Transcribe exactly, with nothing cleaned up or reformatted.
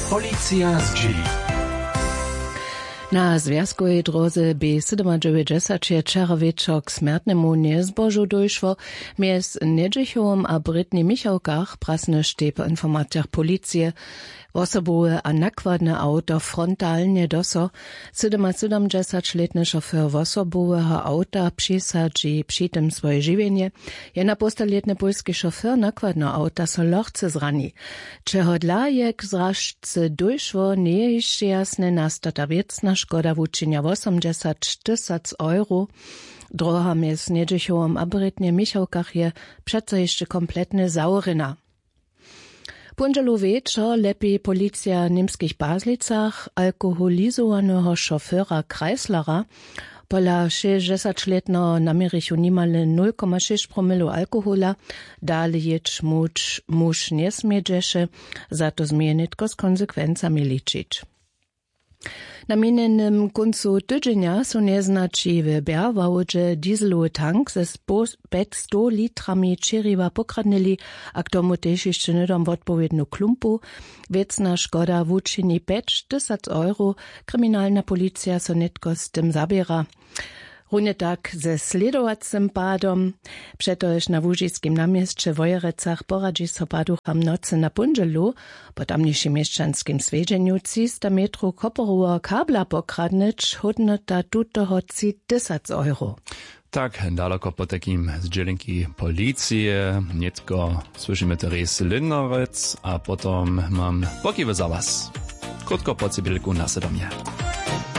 Policija zdźěli. Na zwjazkowej dróze b sydomadźewjećdźesat je wčera wječor k smjertnemu njezbožu dóšło. Mjez njedźechowom a brětnjej michałkach prasnyštej po informacijach policije wosobowe a nakładne awto frontalnje do so. Sydomasydomdźesaćlětny šofér wosoboweho awta přisadźi při tym swoje žiwjenje. Jenapołstalětny pólski šofér nakładneho awta so lochce zrani. Čehodla je k zražce dóšło, njeje hišće jasne. Nastata wěcna škoda wučinja wosomdźesat tysac euro. Dróha mjez njedźechowom a brětnjej michałkach je přeco hišće kompletnje zawrjena. Póndźelu wječor ljepi policija w němskich Pazlicach alkoholizowaneho šofera Kreislera. Pola šěsćdźesaćlětneho naměrichu nimale nul koma šěsć promilow alkohola. Dale jěć muž, muž njesmědźeše. Za to změje nětko z konsekwencami ličić. Na minjenym kóncu tydźenja su njeznaći w bjerwałdźe dieselowy tank ze spo- pjećstow litrami čěriwa pokradnyli, a k tomu tež hišće hnydom wotpowědnu klumpu. Wěcna škoda wučini pjećtysac euro. Kriminalna policija so nětko z tym zaběra, runje tak ze slědowacym padom. Přetož na łužiskim naměsće w wojerecach poradźi so paducham nocy na póndźelu. Po tamnišim měšćanskim swjedźenju třista metrow koporoweho kabla pokradnyć, hódnota tutoho tři tysac euro. Tak daloko potajkim z dźělenki policije. Nětko słyšimy teres lindnerec a potom mam pokiwy za was. Krótko po cybělku na sydomje.